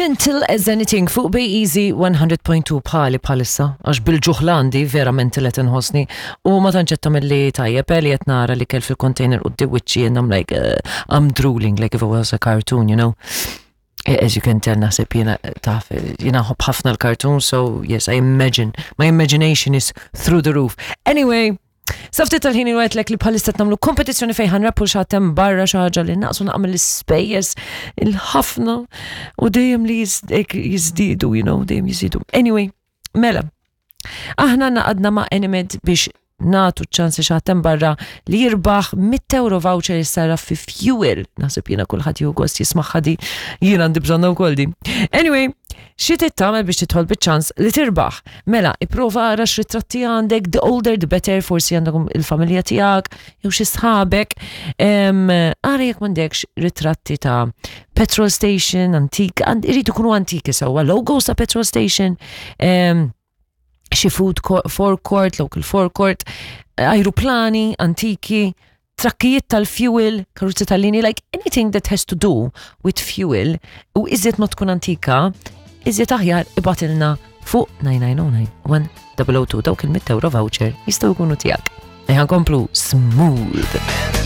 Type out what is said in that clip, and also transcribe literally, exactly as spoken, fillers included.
Mental as Anything fuq Bay Easy one hundred point two. Bħali bħalissa, għax bil-ġuħlandi vera mental qed inħossni u ma tantx qed tagħmel li tajjeb eh, li qed nara li kell fil-container u d-wiċċi and I'm like, uh, I'm drooling like if it was a cartoon, you know. Eh, As you can tell, naħseb jiena taf, jiena nħobb ħafna l-cartoon, so yes, I imagine, my imagination is through the roof. Anyway, sa ftit tal-ħin għedtlek li bħalissa nagħmlu kompetizzjoni fejn ħa nrebbħu xi ħadd barra, xi ħaġa li naqsu naqmel l-ispejjeż il-ħafna u dejjem li jiżdiedu, you know, dejjem jiżdiedu. Anyway, mela, aħna ngħaqadna ma' Enemed biex nagħtu ċans xi ħadd barra li jirbaħ mitt euro voucher jissarraf fi fuel. Naħseb jiena kulħadd jieħu gost jismagħha di, jiena għandi bżonna wkoll di. Anyway, xi trid tagħmel biex tidħol biċ-ċans li tirbaħ? Mela, ipprova ara x'ritratti għandek, the older the better, forsi għandek il-familja tiegħek jew xi sħabek. Ara jekk m'għandekx ritratti ta' petrol station, antik, irridu jkunu antiki sewwa, logos ta' petrol station, em, xi food forecourt, local forecourt, aeroplani antiki, trakkijiet tal-fuel, karozzi tal-lini, like anything that has to do with fuel, u iżjed ma tkun antika, iżjed aħjar. Ibgħatilna fuq nine nine zero nine one zero zero two. Dawk il-mitt euro voucher jistgħu jkunu tiegħek. Ejja nkomplu smooth.